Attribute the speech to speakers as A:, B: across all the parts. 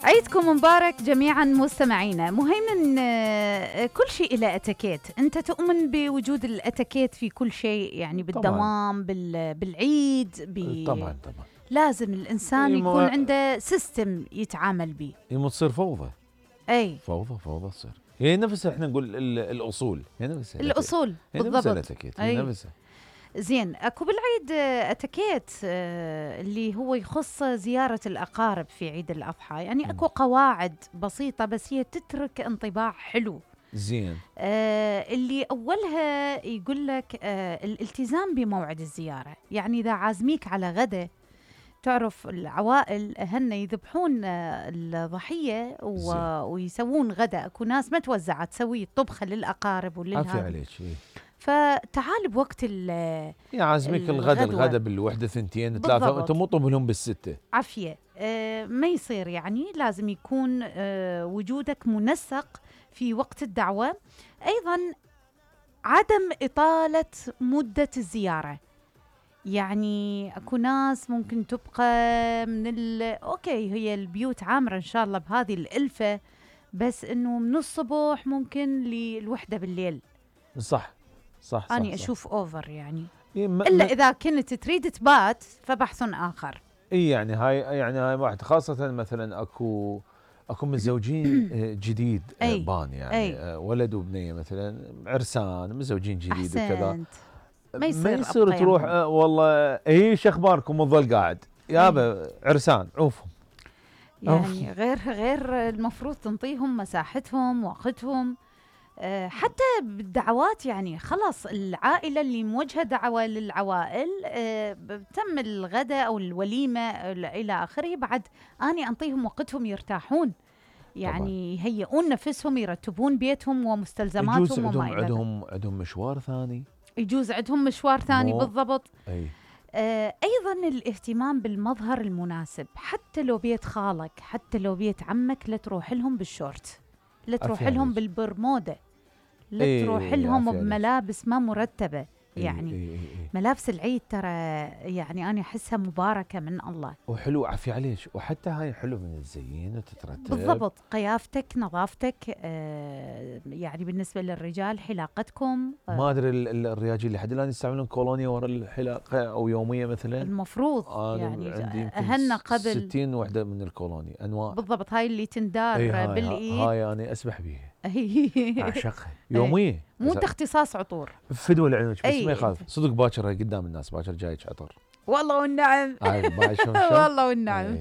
A: عيدكم مبارك جميعا مستمعينا. مهيمن، كل شيء له اتيكيت. انت تؤمن بوجود الاتيكيت في كل شيء، يعني بالدوام بالعيد
B: طبعا
A: لازم الانسان يكون عنده سيستم يتعامل به.
B: تصير فوضى.
A: اي
B: فوضى تصير. هي نفسها احنا نقول الاصول، هي نفسها
A: الاصول
B: بالضبط. هي نفسها.
A: زين، اكو بالعيد اتيكيت اللي هو يخص زيارة الأقارب في عيد الأضحى، يعني اكو قواعد بسيطة بس هي تترك انطباع حلو.
B: زين.
A: اللي أولها يقول لك الالتزام بموعد الزيارة. يعني إذا عازميك على غدا، تعرف العوائل هن يذبحون الضحية ويسوون غدا. اكو ناس ما توزعة تسوي طبخة للأقارب
B: عافية عليك.
A: فتعال بوقت
B: عازميك الغدا بالوحدة 2 3، انت مو طب لهم بالستة.
A: عافية. ما يصير، يعني لازم يكون وجودك منسق في وقت الدعوة. ايضا عدم إطالة مدة الزيارة. يعني اكو ناس ممكن تبقى اوكي، هي البيوت عامرة ان شاء الله بهذه الألفة، بس انه من الصبح ممكن للوحدة بالليل.
B: صح.
A: أنا أشوف أوفر يعني. إلا إذا كنت تريد تبات فبحث آخر.
B: يعني هاي واحد، خاصة مثلا أكو متزوجين جديد بان، يعني ولد وبنية مثلا عرسان متزوجين جديد وكذا. ما يصير تروح والله شو أخباركم وظل قاعد يابا عرسان عوفهم.
A: يعني غير المفروض تنطيهم مساحتهم وقتهم. حتى بالدعوات، يعني خلاص العائلة اللي موجهة دعوة للعوائل، تم الغداء أو الوليمة إلى آخره، بعد أني أنطيهم وقتهم يرتاحون، يعني يهيئون نفسهم، يرتبون بيتهم ومستلزماتهم وما إلى ذلك.
B: عندهم مشوار ثاني.
A: يجوز عندهم مشوار ثاني بالضبط. أيضا الاهتمام بالمظهر المناسب، حتى لو بيت خالك، حتى لو بيت عمك، لا تروح لهم بالشورت، لا تروح لهم بالبرمودة، لا تروح لهم بملابس ما مرتبة. يعني ملابس العيد ترى يعني أنا أحسها مباركة من الله
B: وحلو. عافية عليك. وحتى هاي حلو من الزين وتترتب
A: بالضبط. قيافتك، نظافتك، يعني بالنسبة للرجال حلاقتكم.
B: ما أدري الرياجيل اللي حد الآن يستعملون كولونيا ورا الحلاقة أو يومية مثلا.
A: المفروض يعني أهلنا قبل
B: 60 وحدة من الكولونيا أنواع
A: بالضبط. هاي اللي تندار بالإيد.
B: هاي أنا أسبح بيها أعشقها يومية.
A: مو اختصاص عطور
B: فدوى لعيونك، بس ما يخالف. صدق باكر قدام الناس، باكر جايك عطر.
A: والله والنعم. والله والنعم.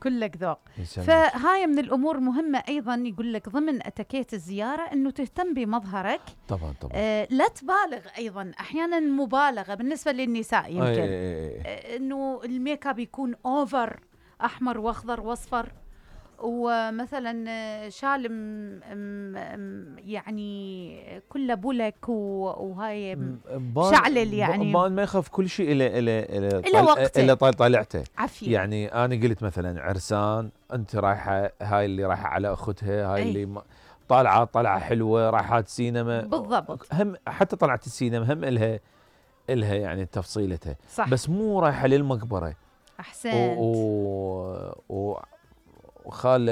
A: كلك ذوق. فهاي من الأمور مهمة. أيضا يقول لك ضمن أتيكيت الزيارة أنه تهتم بمظهرك.
B: طبعا.
A: لا تبالغ. أيضا أحيانا مبالغة بالنسبة للنساء يمكن أنه الميك اب يكون أوفر، أحمر وأخضر وأصفر، ومثلا شال يعني كله بولك وهاي شعلل، يعني
B: ما يخاف كل شيء
A: إلى
B: طالعته.
A: عافية.
B: يعني أنا قلت مثلا عرسان، أنت رايحة، هاي اللي رايحة على أختها، هاي اللي طالعة حلوة، رايحات سينما
A: بالضبط.
B: هم حتى طلعت السينما هم إلها يعني تفصيلتها.
A: صح.
B: بس مو رايحة للمقبرة.
A: أحسنت.
B: وخال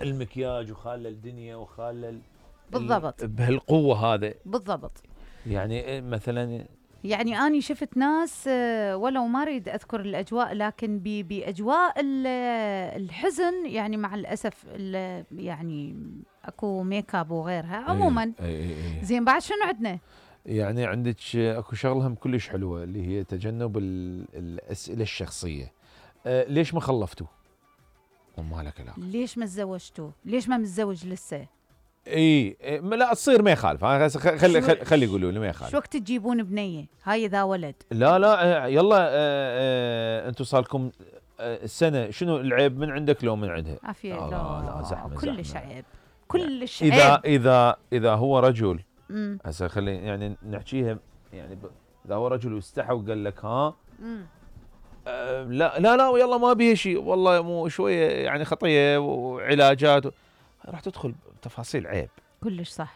B: المكياج وخال الدنيا وخال
A: بالضبط
B: بهالقوة هذا
A: بالضبط.
B: يعني مثلا،
A: يعني أنا شفت ناس ولو ما أريد أذكر الأجواء، لكن بأجواء الحزن، يعني مع الأسف يعني أكو ميكاب وغيرها عموما. زين، بعد شنو عندنا؟
B: يعني عندك أكو شغلة هم كلش حلوة اللي هي تجنب الأسئلة الشخصية. ليش ما خلفتوا؟ ومالك لا.
A: ليش ما تزوجتوا؟ ليش ما متزوج لسه؟
B: لا تصير ما يخالف. خلي يقولوا لي ما يخالف.
A: شو وقت تجيبون بنيه؟ هاي اذا ولد.
B: لا يلا انتم صار لكم السنه، شنو العيب من عندك لو من عندها؟
A: عافيه.
B: لا زحمه.
A: كلش عيب، كلش عيب.
B: اذا هو رجل، هسه خلي يعني نحكيها، يعني اذا هو رجل واستحى وقال لك ها لا ويلا ما بيها شيء، والله مو شويه يعني خطيه وعلاجات راح تدخل تفاصيل عيب.
A: كلش صح.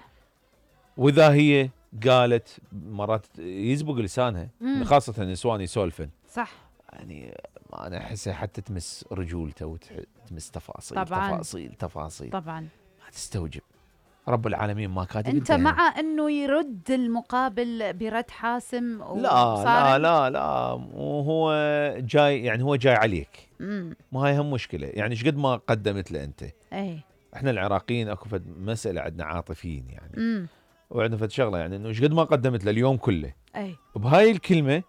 B: واذا هي قالت، مرات يزبق لسانها، خاصه النسوان يسولفن.
A: صح.
B: يعني انا احسها حتى تمس رجولته وتمس تفاصيل
A: طبعاً.
B: تفاصيل
A: طبعا
B: ما تستوجب. رب العالمين ما كاتب
A: انت مع انه يرد المقابل برد حاسم
B: لا وهو جاي يعني هو جاي عليك. ما هي هم مشكله يعني ايش قد ما قدمت له انت.
A: اي
B: احنا العراقيين اكو فد مساله عندنا عاطفيين يعني. وعندنا فد شغله يعني انه ايش قد ما قدمت له اليوم كله.
A: اي
B: بهاي الكلمه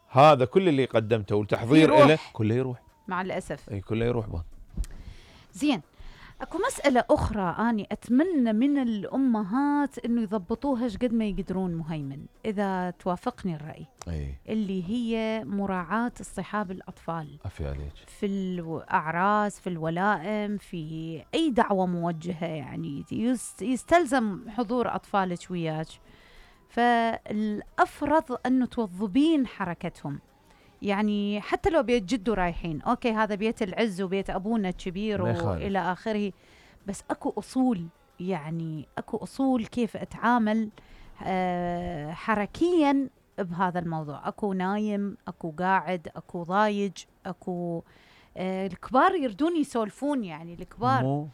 B: هذا كل اللي قدمته والتحضير له كله يروح
A: مع الاسف.
B: اي كله يروح بان.
A: زين اكو مسألة أخرى أني أتمنى من الأمهات إنه يضبطوها قد ما يقدرون مهيمن، إذا توافقني الرأي. اللي هي مراعاة اصطحاب الأطفال.
B: عفي عليك.
A: في الأعراس، في الولائم، في أي دعوة موجهة يعني يستلزم حضور أطفالك وياك. فالأفرض أنه توظبين حركتهم، يعني حتى لو بيت جدو رايحين، أوكي هذا بيت العز وبيت أبونا الكبير وإلى آخره، بس أكو أصول، يعني أكو أصول كيف أتعامل حركياً بهذا الموضوع. أكو نايم، أكو قاعد، أكو ضايج، أكو الكبار يردون يسولفون يعني الكبار.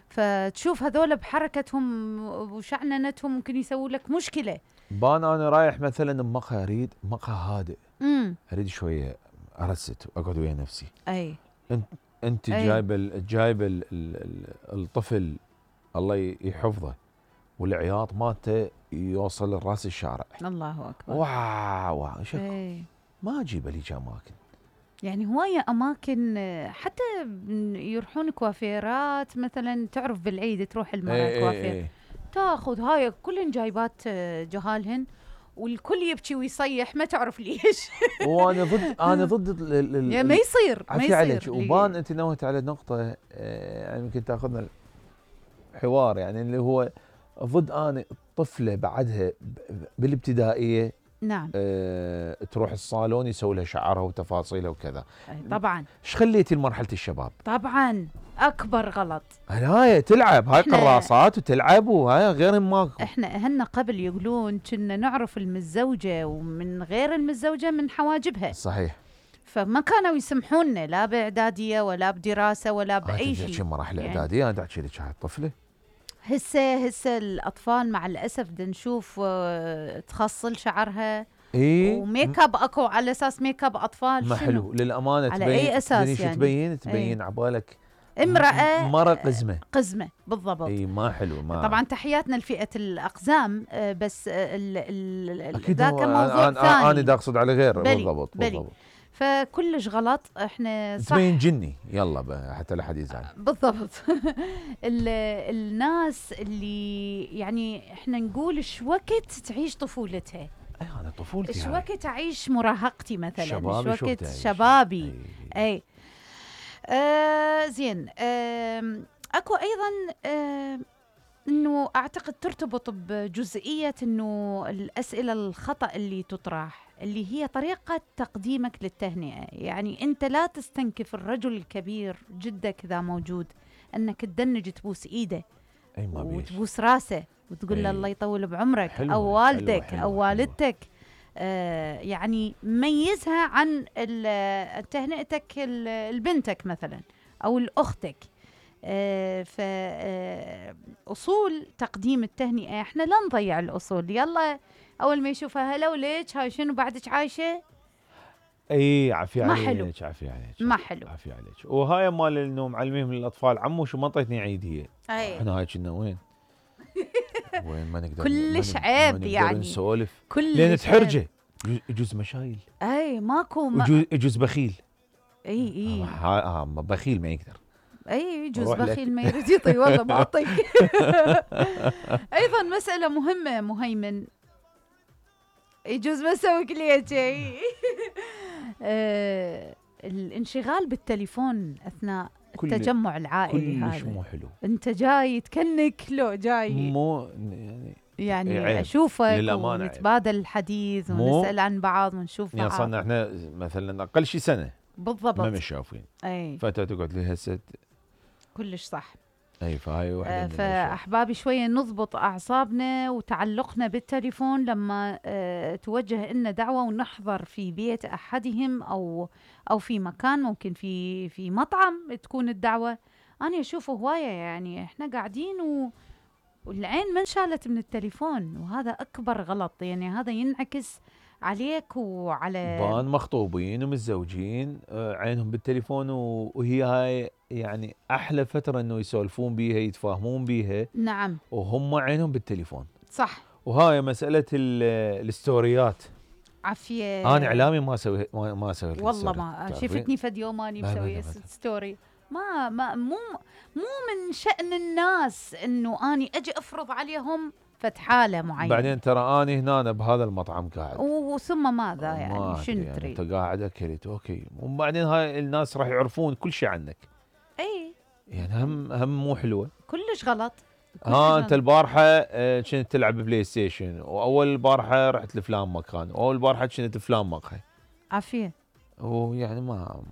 A: فتشوف هذول بحركتهم وشعننتهم ممكن يسووا لك مشكلة.
B: بان أنا رايح مثلاً بمقهى، أريد مقهى هادئ، أريد شوية أرست وأقعد ويا نفسي.
A: أي
B: أنت جايب الطفل الله يحفظه والعياط مالته يوصل لراس الشارع.
A: الله أكبر.
B: واو ما أجيب لي أماكن،
A: يعني هواية أماكن حتى يروحون كوافيرات مثلا، تعرف بالعيد تروح المرأة كوافير تاخذ هاي كلهن جايبات جهالهن والكل يبكي ويصيح ما تعرف ليش.
B: وانا ضد
A: يعني ما يصير
B: عليك. وبان انت نوهت على نقطه يعني يمكن تاخذنا الحوار، يعني اللي هو ضد انا الطفله بعدها بالابتدائيه
A: نعم
B: تروح الصالون يسوي لها شعرها وتفاصيلها وكذا.
A: طبعا
B: ايش خليتي لمرحله الشباب؟
A: طبعا اكبر غلط.
B: هاي تلعب، هاي قراصات وتلعب، وهاي غير ماكو.
A: احنا اهلنا قبل يقولون كنا نعرف المتزوجه ومن غير المتزوجه من حواجبها.
B: صحيح.
A: فما كانوا يسمحونا لا باعداديه ولا بدراسه ولا باي شيء.
B: هاي مراحل اعداديه انا احكي لك هاي الطفله.
A: هسه الاطفال مع الاسف بدنا نشوف تخصل شعرها وميك اب، اكو على اساس ميك اب اطفال.
B: ما حلو للامانه.
A: على اي اساس يعني؟
B: تبين عبالك
A: امراه
B: قزمه
A: بالضبط.
B: اي ما حلو. ما
A: طبعا تحياتنا لفئه الاقزام، بس ذاك موضوع ثاني.
B: انا دا اقصد على غير. بالضبط.
A: فكلش غلط. احنا صح
B: تبين جني يلا حتى لا حد يزعل.
A: بالضبط. الناس اللي يعني احنا نقول ايش وقت تعيش طفولتها.
B: انا طفولتي
A: ايش وقت اعيش مراهقتي مثلا،
B: ايش
A: وقت شبابي. اي زين. اكو ايضا انه اعتقد ترتبط بجزئيه انه الاسئله الخطا اللي تطرح، اللي هي طريقه تقديمك للتهنئه. يعني انت لا تستنكف الرجل الكبير جدك اذا موجود انك تدنج تبوس ايده وتبوس راسه وتقول له الله يطول بعمرك، او والدك او والدتك. يعني ميزها عن تهنئتك لبنتك مثلا او لاختك. فأصول تقديم التهنئة احنا لا نضيع الأصول. يلا أول ما يشوفها هلا وليش هاي شنو بعدك عايشة.
B: اي عافية عليك.
A: ما حلو.
B: عافية عليك. وهاي مال انه معلميهم للأطفال عمو شو ما انطيتني عيدية. احنا هاي كنا وين ما نقدر
A: كلش عيب يعني
B: نسولف لأن تحرجه. يجوز مشايل.
A: اي ماكو
B: يجوز بخيل.
A: اي
B: بخيل ما يقدر.
A: اي يجوز بخيل ما يريد يعطي والله ما اعطيك. ايضا مسألة مهمة مهيمن، يجوز ما اسوي لك شيء. الانشغال بالتليفون اثناء التجمع العائلي هذا
B: كلش مو حلو.
A: انت جاي تكنك لو جاي
B: مو
A: يعني اشوفك ونتبادل الحديث ونسأل عن بعض ونشوف بعض.
B: صرنا احنا مثلا اقل شيء سنة
A: بالضبط
B: ما مش شايفين. فانت تقعد لي هسه
A: كلش صح.
B: اي فهاي واحده من
A: فاحبابي شويه نضبط اعصابنا وتعلقنا بالتليفون لما توجه لنا دعوه ونحضر في بيت احدهم او في مكان، ممكن في مطعم تكون الدعوه. انا اشوف هوايه يعني احنا قاعدين والعين ما انشالت من التليفون، وهذا اكبر غلط. يعني هذا ينعكس عليك وعلى
B: بان مخطوبين ومتزوجين عينهم بالتليفون، وهي هاي يعني احلى فتره انه يسولفون بيها يتفاهمون بيها.
A: نعم.
B: وهم عينهم بالتليفون.
A: صح.
B: وهاي مساله الستوريات.
A: عافيه.
B: انا اعلامي ما اسوي
A: والله ما شفتني فد يوم اني مسوي ستوري. ما مو من شأن الناس انه اني اجي افرض عليهم حالة معينة.
B: بعدين ترى اني هنا بهذا المطعم قاعد
A: وثم ماذا يعني شنو
B: يعني
A: تريد؟
B: انت قاعد اكلت اوكي، وبعدين هاي الناس راح يعرفون كل شيء عنك.
A: اي
B: يعني هم مو حلوه،
A: كلش غلط.
B: انت البارحه كنت تلعب بلاي ستيشن، واول البارحه رحت لفلان مكان، واول البارحه كنت فلان مقهى.
A: عافيه.
B: ويعني ما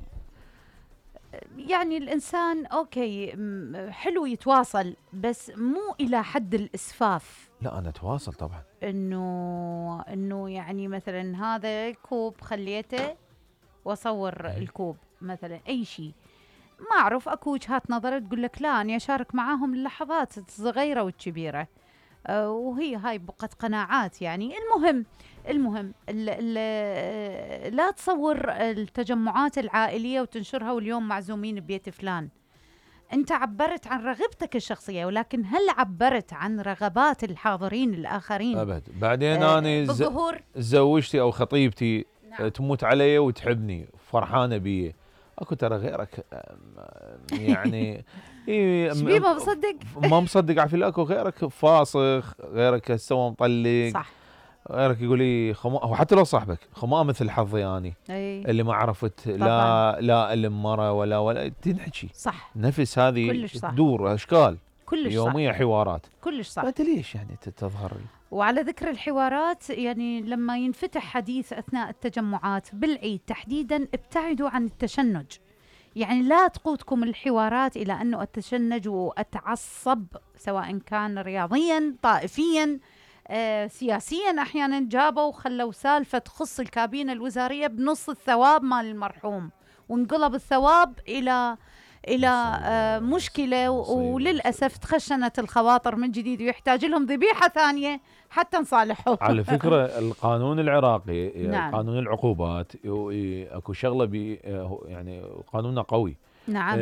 A: يعني الانسان اوكي حلو يتواصل، بس مو الى حد الاسفاف.
B: لا انا اتواصل طبعا،
A: انه يعني مثلا هذا كوب خليته واصور الكوب مثلا، اي شيء ما اعرف. اكو وجهات نظر تقول لك لا اني اشارك معاهم اللحظات الصغيره والكبيره، وهي هاي بقت قناعات. يعني المهم لا تصور التجمعات العائليه وتنشرها واليوم معزومين ببيت فلان. انت عبرت عن رغبتك الشخصيه، ولكن هل عبرت عن رغبات الحاضرين الاخرين؟
B: ابد. بعدين انا زوجتي او خطيبتي نعم. تموت علي وتحبني فرحانه بي، اكو ترى غيرك يعني
A: شبيه ما مصدق
B: ما مصدق عفيل. اكو غيرك فاسخ، غيرك سوى مطلق،
A: صح،
B: غيرك يقول لي وحتى لو صاحبك خما مثل حظي اني اللي ما عرفت لا المرة ولا تنحكي
A: صح.
B: نفس هذه تدور اشكال
A: كلش
B: يوميه
A: صح.
B: حوارات
A: كلش صح.
B: فانت ليش يعني تظهر؟
A: وعلى ذكر الحوارات، يعني لما ينفتح حديث اثناء التجمعات بالعيد تحديدا ابتعدوا عن التشنج. يعني لا تقودكم الحوارات الى انه اتشنج واتعصب، سواء كان رياضيا طائفيا سياسيا. احيانا جابوا وخلوا سالفه تخص الكابينه الوزاريه بنص الثواب مال المرحوم، وانقلب الثواب الى مشكله، وللاسف تخشنت الخواطر من جديد، ويحتاج لهم ذبيحه ثانيه حتى نصالحهم.
B: على فكره القانون العراقي
A: نعم.
B: قانون العقوبات اكو شغله يعني قانونه قوي.
A: نعم.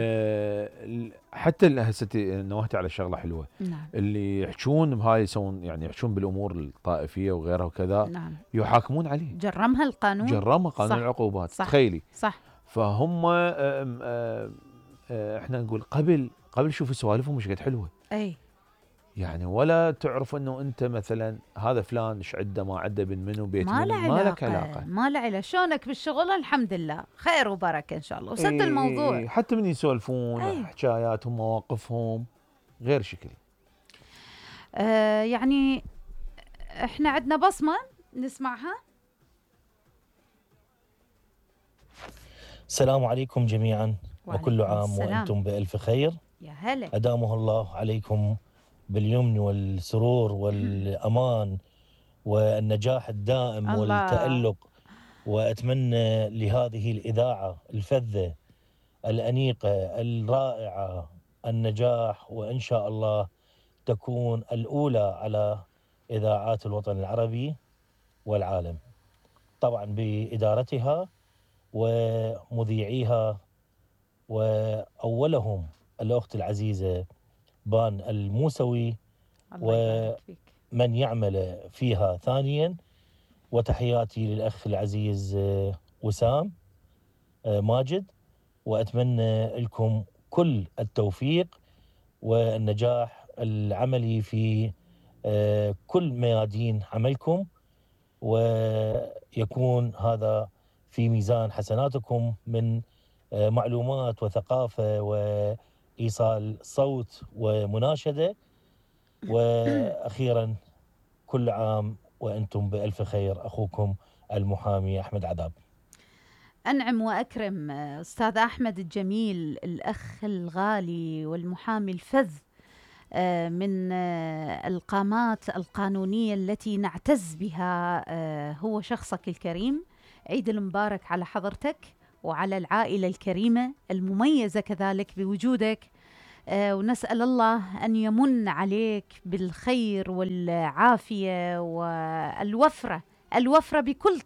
B: حتى هسه نوهتي على شغله حلوه.
A: نعم.
B: اللي يحجون بهاي يسوون يعني يحجون بالامور الطائفيه وغيرها وكذا.
A: نعم.
B: يحاكمون عليه.
A: جرمها القانون.
B: جرمها قانون العقوبات.
A: صح.
B: تخيلي.
A: صح.
B: فهم احنا نقول قبل شوفوا سوالفهم مش قد حلوه.
A: اي
B: يعني ولا تعرف انه انت مثلا هذا فلان ايش عنده ما عنده بن منو بيت
A: ما
B: منو، ما لك علاقه.
A: ما له علاقه. شلونك بالشغل؟ الحمد لله خير وبركه ان شاء الله، وسد الموضوع.
B: حتى من يسولفون حكاياتهم مواقفهم غير شكل.
A: يعني احنا عندنا بصمه نسمعها.
C: السلام عليكم جميعا، وكل عام وانتم بألف خير.
A: يا هلا.
C: أدامه الله عليكم باليمن والسرور والأمان والنجاح الدائم الله. والتألق. وأتمنى لهذه الإذاعة الفذة الأنيقة الرائعة النجاح، وإن شاء الله تكون الأولى على إذاعات الوطن العربي والعالم، طبعا بإدارتها ومذيعيها، وأولهم الأخت العزيزة بان الموسوي ومن يعمل فيها ثانيا. وتحياتي للأخ العزيز وسام ماجد، وأتمنى لكم كل التوفيق والنجاح العملي في كل ميادين عملكم، ويكون هذا في ميزان حسناتكم من معلومات وثقافة وإيصال صوت ومناشدة. وأخيرا كل عام وأنتم بألف خير. أخوكم المحامي أحمد عذاب.
A: أنعم وأكرم أستاذ أحمد الجميل، الأخ الغالي والمحامي الفذ من القامات القانونية التي نعتز بها هو شخصك الكريم. عيد المبارك على حضرتك وعلى العائلة الكريمة المميزة كذلك بوجودك، ونسأل الله أن يمن عليك بالخير والعافية والوفرة بكل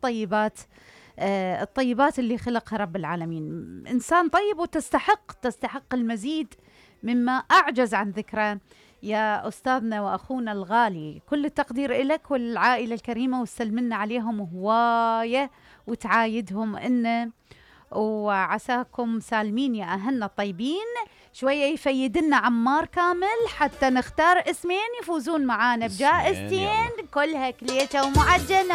A: الطيبات اللي خلقها رب العالمين. إنسان طيب وتستحق المزيد مما أعجز عن ذكره يا أستاذنا وأخونا الغالي. كل التقدير إلك والعائلة الكريمة، وسلمنا عليهم هواية وتعايدهم إنه وعساكم سالمين يا أهلنا الطيبين. شوية يفيدنا عمار كامل حتى نختار اسمين يفوزون معانا بجائزتين كلها كليشة ومعجنة.